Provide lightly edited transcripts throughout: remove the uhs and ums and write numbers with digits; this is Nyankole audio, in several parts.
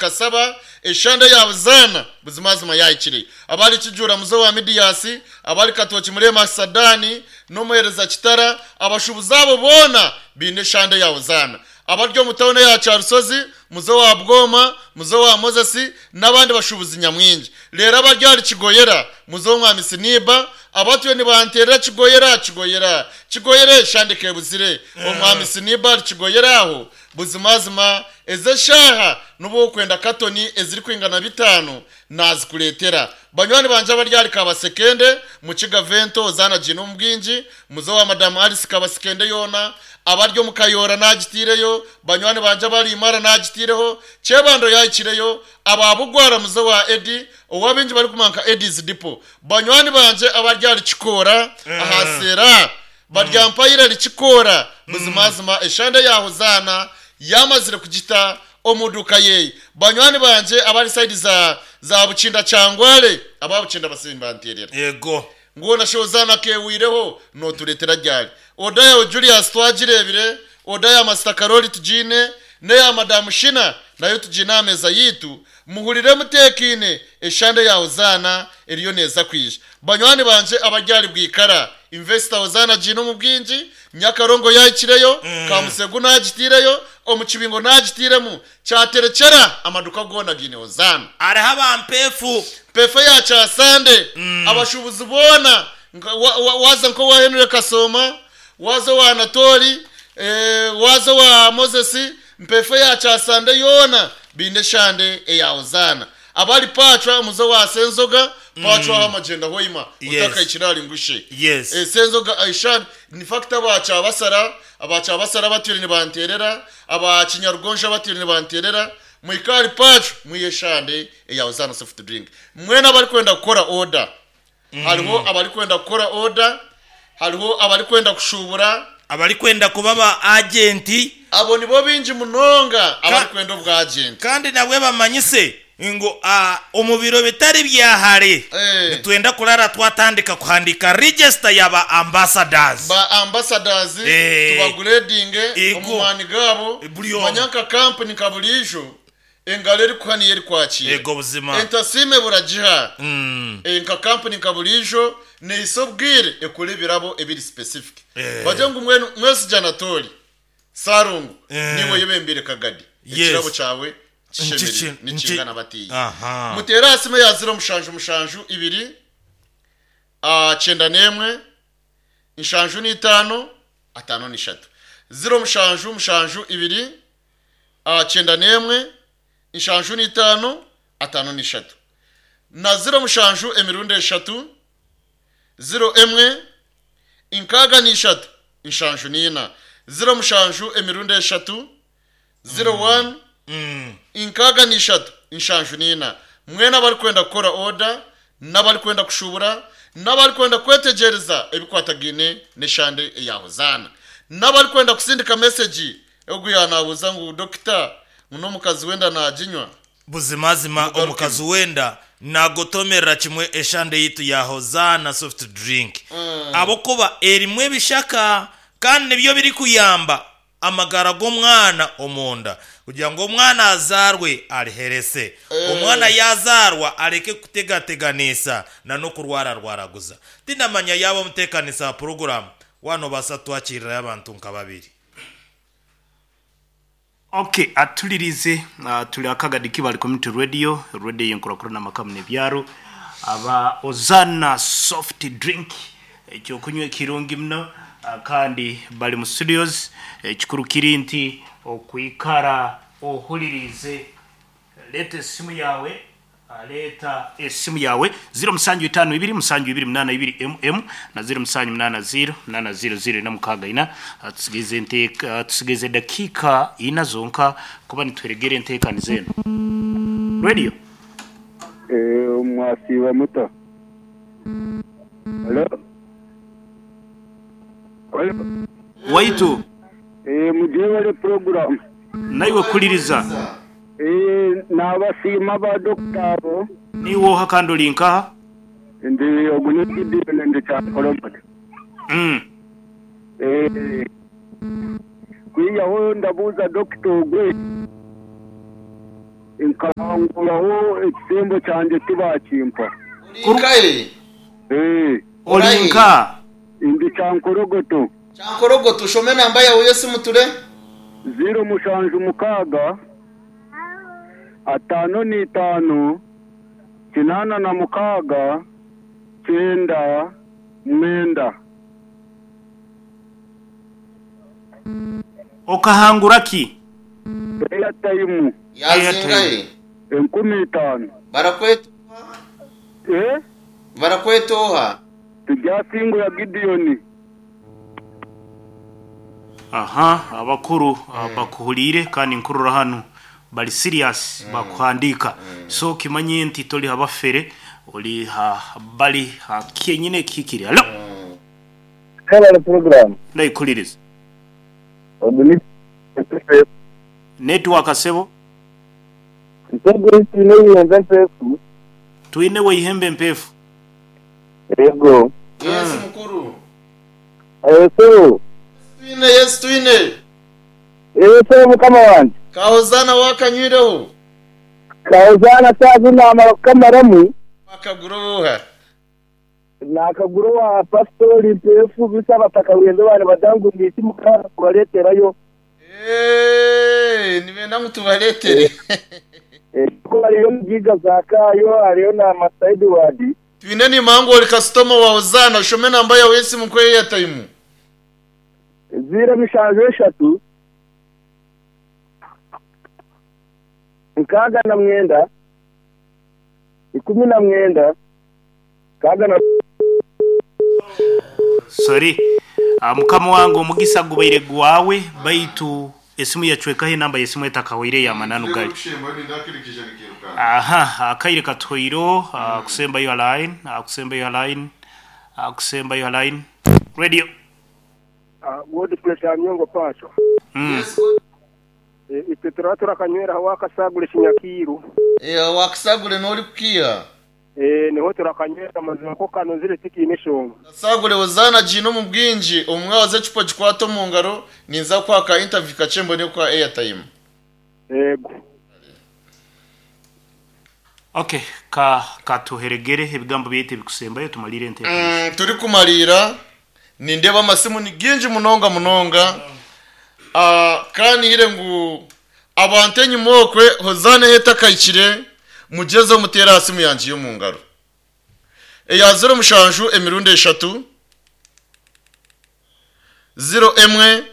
Kasaba, eshande ya Buzaana buzimazima yaahikire. Abari Kijuura muze owa Midiyasi, abari Katooki mureeme Sadani n'omuheereza Kitara, abashuubuzi abo boona baine eshande ya Hozaana. Abari omu tauni eya Kyarusozi muze owa Bwoma, muze owa Moses n'abandi bashuubuzi nyamwingi. Reero abari ahari Kigoyera muze ow'omwami Siniiba, abatwire nibanteerera Kigoyera, Kigoyera, Kigoyera eshande kebuzire. Omwami Siniiba ahari Kigoyera aho Buzimazima, ezi eshaaha n'obu okwenda katoni ezirikwingana bitaano naazikureetera. Banywani bangye abari ahari Kabasekende, Mukiga Vento, Hozaana Giine omu bwingi, muze owa Madamu Alice Kabasekende yoona, abari omu Kayoora naagitaireyo, banywani bangye abari Imara naagitaireho, Kyebando yaahikireyo, aba Bugwara muze owa Eddy, ou abaingi barikumanya nka Eddy's Depot. Banywani bangye abari ahari Kikoora, aha Seera, Baryampaire rikikoora. Buzimazima eshande ya Hozaana yamazire kugita omu duuka ye. Banywani bangye abari sayidi za za Bukinda Kyangwale, aba Bukinda basibe nibanteerera. Yego. Ngu hoona shi Hozaana akeehwireho, nootureetera ryari? Oda yaawe Julius twagireebire, oda ya Masita Karoli tugiine, n'eya Madamu Shina nayo tugiine aha meeza yaitu. Muhurire muteekaine, eshande ya Hozaana eriyo neeza kwija. Banywani bangye abari ahari Bwikara, Investor Hozaana agiine omu bwingi, Nyakarongo yaahikireyo, Kamusegu naagitaireyo, omu Kibingo naagitairemu, Kyaterekyera amaduka goona gaine Hozaana. Hariho aba Mpeefu. Mpeefu eya Kyasande, abashuubuzi boona, waaza nk'owa Henry Kasooma, waaza owa Anatoli, waaza owa Moses, Mpeefu eya Kyasande yoona baine eshande eya Hozaana. Abari Pacwa omuze wa Senzoga, Pacwa aho amagyenda hoima otakahikire ahari Ngushe. Senzoga eshande, in fact aba Kyabasara, aba Kyabasara batwire nibanteerera, aba Kinyarugonjo abatwire nibanteerera, muhike ahari Pacwa mwihe eshande eya Hozaana Soft Drink. Mwena abarikwenda kukora order, Hariho abarikwenda kukora oda, hariho abarikwenda kushuubura. Abarikwenda kuba ba agenti. Abo nibo baingi munonga abarikwenda obwagenti. Kandi nabwe bamanyise ngu omu biro bitari bya hare nitwenda kurara twatandika kuhandiika register ya ba ambassadors. Ba ambassadors tubaguredinge omu maani gaabo. Manya nka kampuni nka buriijo Engaro erikuha niyo erikwakiira. Ego buzima. Entasiima ebura giha. Nka kampuni nka buriijo neihisa obwire ekore ebirabo ebiri specific. Bagire ngu mbwenu Mwesigye Anatoli, Ssalongo, niiwe oyebembeire Kagadi, ekirabo kyawe kishemereire nikingana batiiya. Muteere aha simu eya ziro mushanju mushanju ibiri 91 75 53. 0 7 7 91 75 53 na 0 7 emirundi eshatu 0 1 63 74 0 7 emirundi eshatu 0 1 63 74 Mwena abarikwenda kukora oda n'abarikwenda kushuubura n'abarikwenda kwetegyereza ebikwatagaine n'eshande eya Hozaana n'abarikwenda kusindika mesegi ogu yaanaabuuza ngu dokita ngu n'omukazi w'enda naaginywa? Buzimazima Mugarukemu. omukazi w'enda naagotomerera kimwe eshande yaitu ya Hozaana Soft Drink ahabw'okuba erimu ebishaka kandi nibyo birikuyamba amagara g'omwana omunda kugira ngu omwana azaarwe ariherese. Omwana yaazaarwa areke kutegateganisa na n'okurwararwaraguza. Tindamanya yaaba omuteekanisa wa puroguraamu waaba noobaasa kutwakirirayo abantu nka babiri. Ok atulirize turi aha Kagadi Kibale Community Radio, radio eyenkurakurana amaka muno ebyaro. Aba Ozana Soft Drink ekyokunywa ekirungi muno kandi bari mu studios. Ekikuru kiri nti okwikara ohuririize. Leeta esimu yaawe, leeta esimu yaawe 0752 7 8 2 mm na 0780 8 0 0 4 6 4. Tusigaize enteeka, tusigaize edakiika ina zonka kuba nituheregera enteekaniza enu. Radio. Mwasiiba muta? Halo? Halo? Waitu. Mugyebare puroguramu. Naiwe kuliriza. Nabasiima ba dokita abo. Niiwe oha kandi ori nkaha? Ndi ogu ni Gideon ndi Kyankolomoto. Kwihaho ndabuuza dokita ogwe. Nkahanguraho ekisembo kyangye tibakimpa. Ori nkahe? Eh, Ori nka? Ndi Kyankorogoto. Kyankorogoto, shoma enamba yaawe y'esimu ture. Ziiro mushanju mukaaga, ataano n'itaano, kinaana na mukaaga, kyenda, mwenda. Okahangura ki? Airtime. Yazingahe? 5000. Barakweta oha? Eh? Barakweta oha? Turyasingura Gideon. Aha, abakuru bakuhuriire kandi nkurora hanu bari serious bakuhandiika. So kimanye nti tori ha bafere ori ha bari ha kyenyine ekihikire. Halo. Mwebale program. Ndaikuririza. Ogu ni Network sebo. Ntego twine eihembe empeefu. Twine we ihembe empeefu. Yego. Yes mukuru. Sebo. Twine, yes twine. Sebo mukama wangye. Ka Hozaana waakanywireho? Ka Hozaana saaha zi naamara kukamaramu. Waakagura obuuha? Naakagura owa Pasitori Mpeefu beitu abataka bwenzi baaba nibagira ngu niiki mukaaza kubareeterayo. Eeh, nibenda ngu tubareetere. Ku hariyo Mugaiga Zaakayo, hariyo na Master Edward. Twine nimanya ngu ori kasitoma wa Hozaana, shoma enamba yaawe y'esimu nkuhe eyatayimu. Ziiro mishanju eshatu, 69, 19, 6. Sorry. Mukama wange omugisa gubaire gwawe baitu esimu yacwekaho enamba y'esimu etakahwaire ey'amananu gari. Aha, akaire katuhwaireho kusembayo ha line, kusembayo ha line, kusembayo ha line. Radio. Godfrey Kyamyongo Pacho. Itwe turaba turakanywera aho wakasagura ekinyakiiru. Wakasagure n'ori kukiiha? Niho turakanywera amazima ko kanozire tikiine eshonga. Kasagure Hozaana agiine omu bwingi, omu mwabazi ecupa ogikwate omu ngaro, ninza kukuha ka interview kakye mbone kukuha airtime. Yego. Ok, ka katuheregere ebigambo byaitu ebikusembayo tumariire enteekanisa. Turikumariira, nindeeba amasimu ni gingi munonga munonga. Ka nihire ngu abantu enyima okwe Hozaana ahu etakahikire, mugyezeho muteere aha simu yangye y'omu ngaro. Eya ziro mushanju emirundi eshatu, ziro emwe,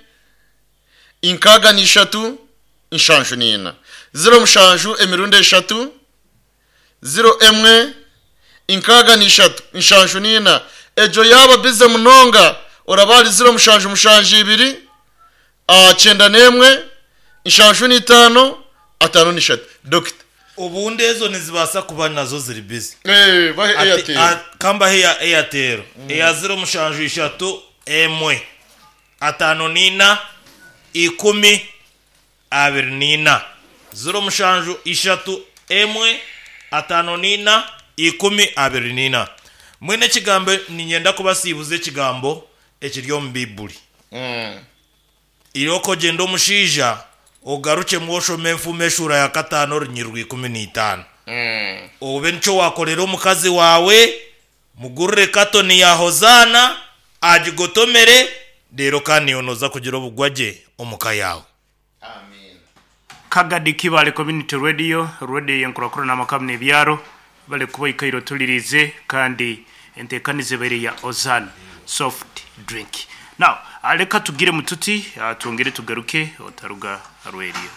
inkaaga n'ishatu, nshanju n'ina. Ziro mushanju emirundi eshatu, ziro emwe, inkaaga n'ishatu, nshanju n'ina. Egyo yaaba bize munonga, oraba ahari ziro mushanju mushanju ibiri, kyenda n'emwe, nshanju n'itaano, ataano n'ishatu. Dokita. Obundi ezo nizibaasa kuba nazo ziri bizi. Eh, bahe Ati, Airtel. Ka mbahe eya Airtel. Eya ziro mushanju ishatu, emwe, ataano n'ina, ikumi, abiri n'ina. Ziro mushanju ishatu, emwe, ataano n'ina, ikumi, abiri n'ina. Mbwenu ekigambo niinyenda kubasiibuza ekigambo ekiri omu Baiburi. Irooko ogyende omushaija ogarukyemu oshome enfumu eshuura ya kataano orunyiriri rwa 15. Obe nikyo waakorera omukazi waawe, mugurire katoni ya Hozaana, agigotomere, reero kandi iwe nooza kugira obugwagye omu ka yaawe. Kagadi Kibale Community Radio, radio y'enkurakurana amaka n'ebyaro, bale kuba oikaire otuliriize kandi enteekaniza ebaire ya Ozan Soft Drink. Now, leka tugire mututi, twongere tugaruke otaruga ha radio.